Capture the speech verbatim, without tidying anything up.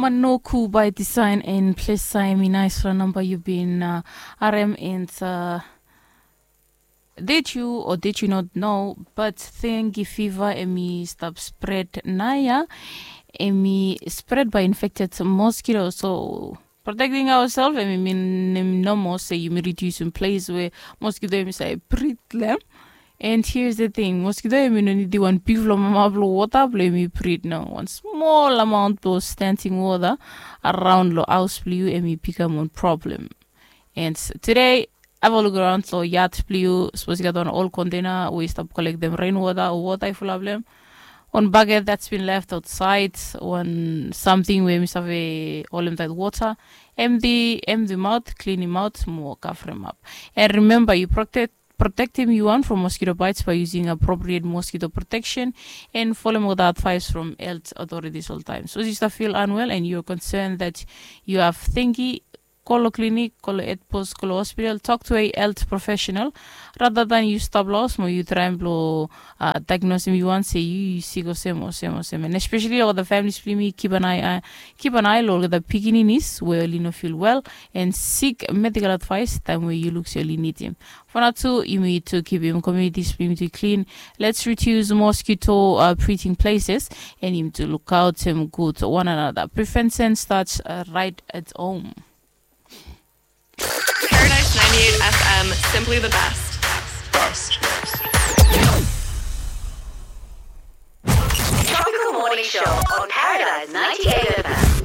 Manoku by Design and Plesa, hemi naesfala namba yu bin uh, harem and uh, did you or did you not know, but dengue fever hemi stap spread naoia, hemi spread by infected mosquito. So protecting ourselves hemi mean nomo se yumi reducem ples we mosquito hemi save breed long. And here's the thing, mosquito hemi no nidim wan bigfala mama blong wota blong hemi breed. No, wan smol amount blong standing wota araon long haos blong yu hemi bikam wan problem. And today, have a look around long yard blong yu. Sapos yu gat wan ol container we yu stap kolektem rainwota o wota i fulap long hem, wan bucket that's been left outside, wan samting we hemi save holem taet wota, empty empty maot, klinim aot mo kavrem ap. And remember, yu protect protectim yu wan from mosquito bites by using appropriate mosquito protection and folem olgeta advice from health authorities oltaem. Sapos yu stap feel unwell and you're concerned that you have dengue, go long klinik, go long health post, go long hospital, talk to a health professional rather than yu stap long haos mo yu traem blong uh, diagnosim yu wan se yu yu sik olsem olsem olsem. And especially olgeta families blong yumi, keep an eye uh, keep an eye long olgeta pikininis we oli no feel well and seek medical advice taem we yu luk se oli nidim. For now too, yumi tu kipim communities blong yumi tu clean. Let's reduce mosquito uh, breeding places and yumi tu look out him good one another. Prevention starts uh, right at home. Paradise ninety-eight F M, simply the best. Best. Tropical Morning Show on Paradise ninety-eight